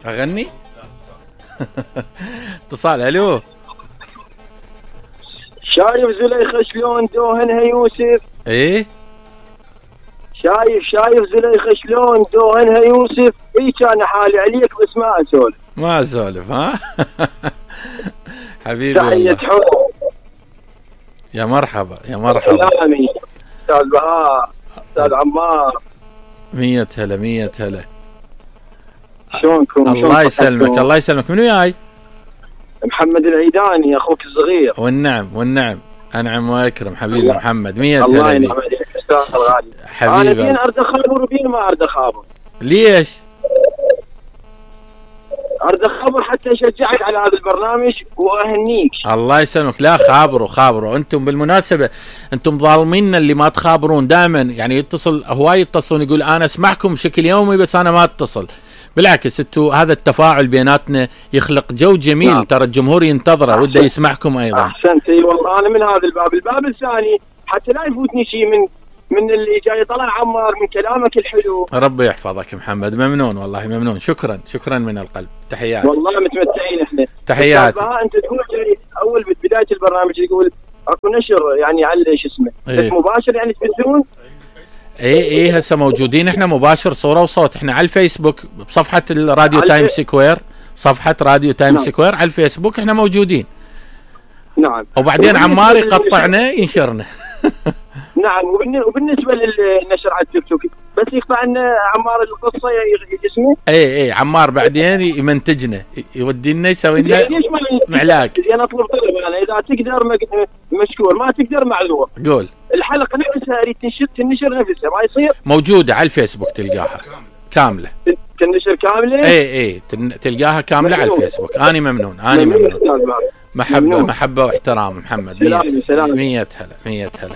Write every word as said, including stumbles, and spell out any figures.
اغني اتصال. الو شايف زليخة شلون دوهنها يوسف؟ ايه شايف شايف زليخة شلون دوهنها يوسف؟ اي كان حالي عليك بس ما اسولف. ما اسولف ها. حبيبي تحية حب. يا مرحبا يا مرحبا. سلامي استاذ بهاء استاذ عمار. مية هلا مية هلا. شلونكم؟ الله يسلمك الله يسلمك. من وياي؟ محمد العيداني اخوك الصغير. والنعم والنعم انعم واكرم حبيبي محمد. مية الله هلا ينعم عليك استاذ الغالي. حبيبي. انا بين ارد خابر وبين ما ارد خابر. ليش؟ ارد خبر حتى اشجعك على هذا البرنامج واهنيك. الله يسلمك. لا خابروا خابروا انتم. بالمناسبه انتم ظالمين اللي ما تخابرون دائما. يعني يتصل هواي يتصلون يقول انا اسمعكم بشكل يومي بس انا ما اتصل. بالعكس انتم هذا التفاعل بيناتنا يخلق جو جميل. نعم. ترى الجمهور ينتظره وده يسمعكم ايضا. احسنت. اي والله انا من هذا الباب. الباب الثاني حتى لا يفوتني شيء من من اللي جاي طلع عمار من كلامك الحلو. ربي يحفظك محمد. ممنون والله ممنون. شكرا شكرا من القلب. تحياتي والله متمتعين احنا. تحياتي. انت تقول اول بدايه البرنامج تقول اكو نشر يعني على ايش اسمه إيه؟ مباشر يعني تبثون. ايه ايه هسه موجودين احنا مباشر صوره وصوت. احنا على الفيسبوك بصفحه الراديو تايم سكوير. صفحه راديو تايم نعم. سكوير على الفيسبوك احنا موجودين. نعم. وبعدين عمار يقطعنا ينشرنا. نعم. وبالنسبه للنشر على التيك توك بس يقطع لنا عمار القصه اسمه. اي اي عمار بعدين يمنتجنا يودي لنا يسوي لنا معلاك. انا اطلب طلب انا اذا تقدر مشكور ما تقدر معذور. قول. الحلقه نفسها اريد تنشر تنشر نفسها ما يصير. موجوده على الفيسبوك تلقاها كامله. تنشر كامله. اي اي تلقاها كامله على الفيسبوك. انا ممنون انا ممنون. محبه محبه واحترام محمد. مية هلا مية هلا.